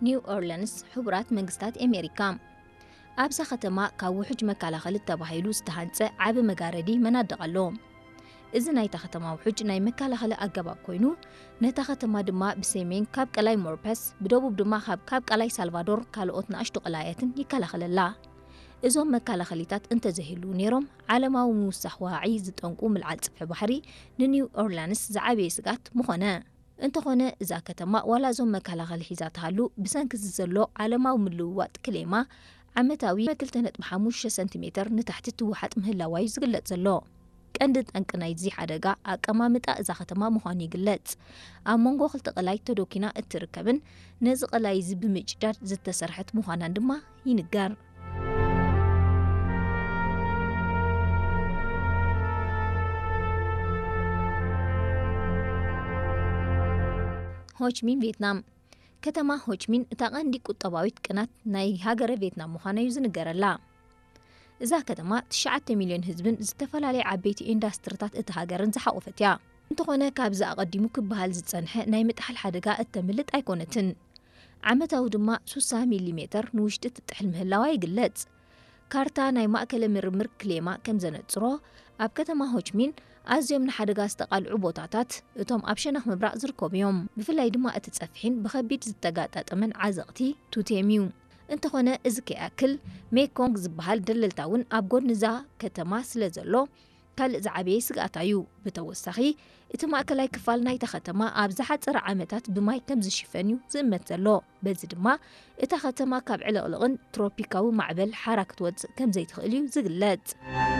ኒው ኦርለንስ፣ ሕቡራት መንግስታት ኣሜሪካ። ኣብዛ ከተማ ካብ ውሑጅ መከላኸሊ ተባሂሉ ዝተሃንጸ ዓቢ መጋረዲ መናድቕ ኣሎ። እዚ ናይታ ከተማ ውሑጅ ናይ መከላኸሊ ኣገባብ ኮይኑ፣ ነታ ከተማ ድማ ብሰሜን ካብ ቀላይ ሞርፐስ፣ ብደቡብ ድማ ካብ፣ ካብ ቀላይ ሳልቫዶር ካልኦት ንኣሽቱ ቀላያትን ይከላኸለላ። እዞም መከላኸሊታት እንተዘይህልዉ ነይሮም፣ ዓለማዊ ምውሳኽ ዋዒ ዝጠንቁ ምልዓል ጽፍሒ ባሕሪ ንኒው ኦርላንስ ዝዓበየ ስግኣት ምኾነ። እንተኾነ እዛ ከተማ ዋላ እዞም መከላኸሊ ሒዛ ትሃሉ፣ ብሰንኪ እዚ ዘሎ ዓለማዊ ምልውዋጥ ክሌማ ዓመታዊ ክልተ ነጥቢ ሓሙሽተ ሰንቲሜተር ንታሕቲ ትውሓጥ ምህላዋ እዩ ዝግለጽ ዘሎ። ቀንዲ ጠንቂ ናይዚ ሓደጋ ኣቀማምጣ እዛ ከተማ ምዃኑ ይግለጽ። ኣብ መንጎ ክልተ ቀላይ ተዶኪና እትርከብን ነዚ ቀላይ እዚ ብምጭዳድ ዝተሰርሐት ምዃናን ድማ ይንገር። ሆችሚን ቬትናም። ከተማ ሆችሚን እታ ቀንዲ ቁጠባዊት ቅናት ናይ ሃገረ ቬትናም ምዃና እዩ ዝንገረላ። እዛ ከተማ ትሽዓተ ሚልዮን ህዝብን ዝተፈላለየ ዓበይቲ ኢንዳስትሪታት እታ ሃገርን ዝሓቖፈት እያ። እንተኾነ ካብዚ ኣቐዲሙ ክበሃል ዝጸንሐ ናይ ምጥሓል ሓደጋ እተምልጥ ኣይኮነትን። ዓመታዊ ድማ ሱሳ ሚሊሜተር ንውሽጢ ትጥሕል ምህላዋ ይግለጽ። ካርታ ናይ ማእከለ ምርምር ክሌማ ከም ዘነጽሮ፣ ኣብ ከተማ ሆችሚን ኣዝዮም ንሓደጋ ዝተቓልዑ ቦታታት እቶም ኣብ ሸነኽ ምብራቕ ዝርከቡ እዮም። ብፍላይ ድማ እቲ ጸፍሒን ብኸቢድ ዝተጋጣጠመን ዓዘቕቲ ቱቴም እዩ። እንተኾነ እዚ ከይኣክል ሜኮንግ ዝበሃል ደለልታ እውን ኣብ ጎድኒ እዛ ከተማ ስለ ዘሎ ካልእ ዝዓበየ ስግኣታ እዩ። ብተወሳኺ እቲ ማእከላይ ክፋል ናይታ ከተማ ኣብ ዝሓጸረ ዓመታት ብማይ ከም ዝሽፈን እዩ ዝእመት ዘሎ። በዚ ድማ እታ ከተማ ካብ ዕልቕልቕን ትሮፒካዊ ማዕበል ሓራ ክትወጽእ ከም ዘይትኽእል እዩ ዝግለጽ።